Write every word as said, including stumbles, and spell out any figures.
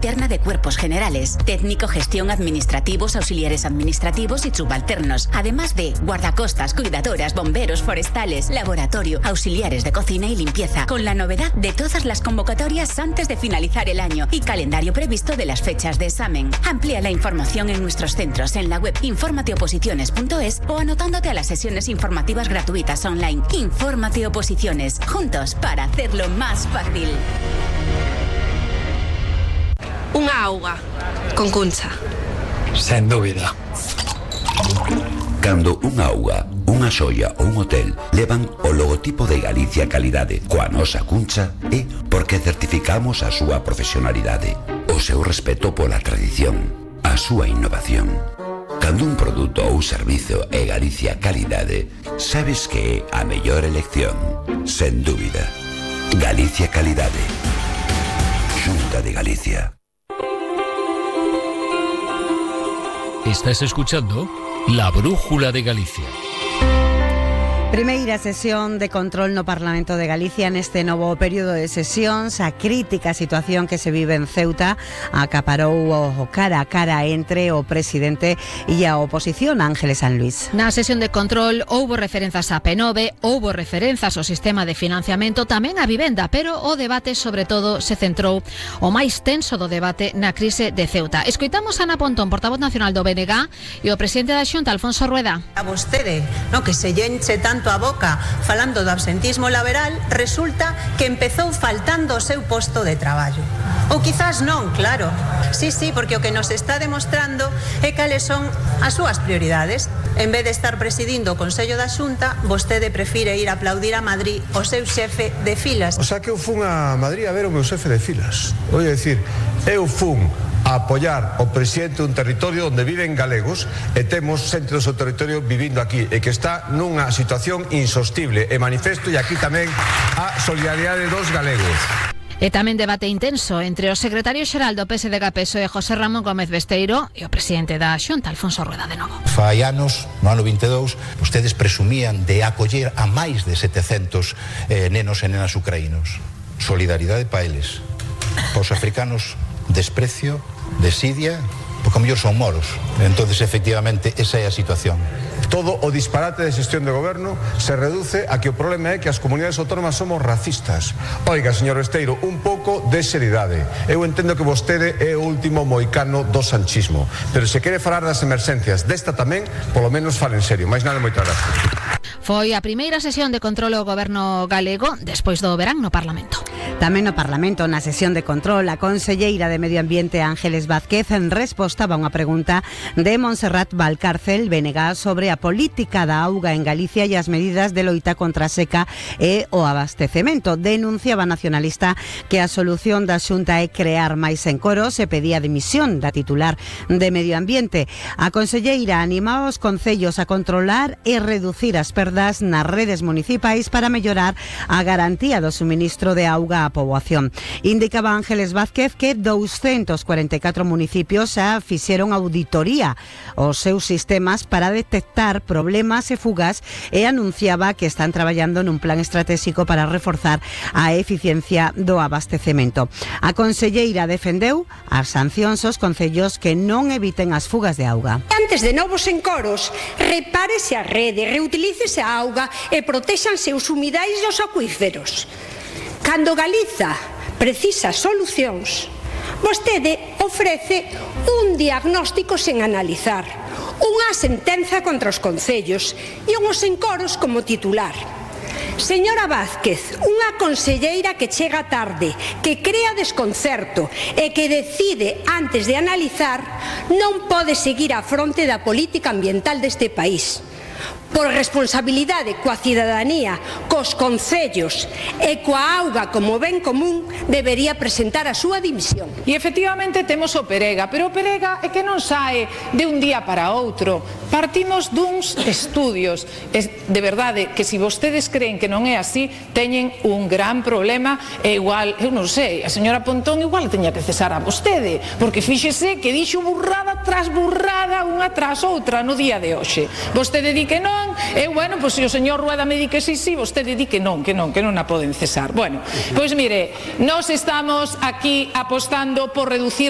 Terna de cuerpos generales, técnico, gestión, administrativos, auxiliares administrativos y subalternos, además de guardacostas, cuidadoras, bomberos, forestales, laboratorio, auxiliares de cocina y limpieza, con la novedad de todas las convocatorias antes de finalizar el año y calendario previsto de las fechas de examen. Amplía la información en nuestros centros en la web infórmate oposiciones punto es o anotándote a las sesiones informativas gratuitas online. Infórmate Oposiciones, juntos para hacerlo más fácil. Unha auga con Cuncha. Sen dúbida. Cando unha auga, unha xoia ou un hotel levan o logotipo de Galicia Calidade coa nosa Cuncha é porque certificamos a súa profesionalidade, o seu respeto pola tradición, a súa innovación. Cando un produto ou servizo é Galicia Calidade, sabes que é a mellor elección, sen dúbida. Galicia Calidade. Xunta de Galicia. Estás escuchando La Brújula de Galicia. Primeira sesión de control no Parlamento de Galicia neste novo período de sesións. A crítica situación que se vive en Ceuta acaparou o cara a cara entre o presidente e a oposición, Ángeles San Luis. Na sesión de control houbo referenzas a Penove, houbo referenzas ao sistema de financiamento, tamén a vivenda, pero o debate sobre todo se centrou o máis tenso do debate na crise de Ceuta. Escoitamos a Ana Pontón, portavoz nacional do B N G, e o presidente da Xunta, Alfonso Rueda. A vostede, no, que se llenche tanto a boca falando do absentismo laboral, resulta que empezou faltando o seu posto de traballo. Ou quizás non, claro. Sí, sí, porque o que nos está demostrando é cales son as súas prioridades. En vez de estar presidindo o Consello da Xunta, vostede prefire ir a aplaudir a Madrid o seu xefe de filas. O sea que eu fun a Madrid a ver o meu xefe de filas. Vou dicir, eu fun a apoiar o presidente dun territorio onde viven galegos e temos xente do seu territorio vivindo aquí e que está nunha situación insostible e manifesto, e aquí tamén a solidaridade dos galegos. E tamén debate intenso entre o secretario xeral do P S D G P S O E, José Ramón Gómez Besteiro, e o presidente da Xunta, Alfonso Rueda, de novo. Fai anos, no ano vinte e dous, ustedes presumían de acoller a máis de setecentos eh, nenos e nenas ucraínos. Solidaridade pa eles. Pa os africanos, desprecio, desidia, porque a mellor son moros. Entonces, efectivamente, esa é a situación. Todo o disparate de xestión de goberno se reduce a que o problema é que as comunidades autónomas somos racistas. Oiga, señor Besteiro, un pouco de seriedade. Eu entendo que vostede é o último moicano do sanchismo, pero se quere falar das emerxencias desta tamén, polo menos fale en serio. Mais nada, moitas gracias. Foi a primeira sesión de control ao goberno galego despois do verán no Parlamento. Tamén no Parlamento, na sesión de control, a conselleira de Medio Ambiente, Ángeles Vázquez, en resposta a unha pregunta de Montserrat Valcárcel, B N G, sobre a política da auga en Galicia e as medidas de loita contra a seca e o abastecemento. Denunciaba a nacionalista que a solución da Xunta é crear máis encoros e pedía a dimisión da titular de Medio Ambiente. A conselleira animaba os concellos a controlar e reducir as perdas nas redes municipais para mellorar a garantía do suministro de auga á poboación. Indicaba Ángeles Vázquez que doscientos cuarenta e catro municipios xa fixeron auditoría aos seus sistemas para detectar problemas e fugas e anunciaba que están traballando nun plan estratégico para reforzar a eficiencia do abastecemento. A conselleira defendeu as sancións aos concellos que non eviten as fugas de auga. Antes de novos encoros, repárese a rede, reutilícese a auga e protéxanse os humidais e os acuíferos. Cando Galiza precisa solucións, vostede ofrece un diagnóstico sen analizar, unha sentenza contra os concellos e uns encoros como titular. Señora Vázquez, unha conselleira que chega tarde, que crea desconcerto e que decide antes de analizar, non pode seguir á fronte da política ambiental deste país. Por responsabilidade coa cidadanía, cos concellos e coa auga como ben común, debería presentar a súa dimisión. E efectivamente temos o Perega, pero o Perega é que non sae de un día para outro. Partimos duns estudios. Es de verdade que se vostedes creen que non é así, teñen un gran problema e igual, eu non sei, a señora Pontón igual teña que cesar a vostede, porque fíxese que dixo burrada tras burrada unha tras outra no día de hoxe. Vostede di que non, e bueno, pois se o señor Rueda me di que sí, sí, vostede di que non, que non, que non a poden cesar. Bueno, pois mire, nós estamos aquí apostando por reducir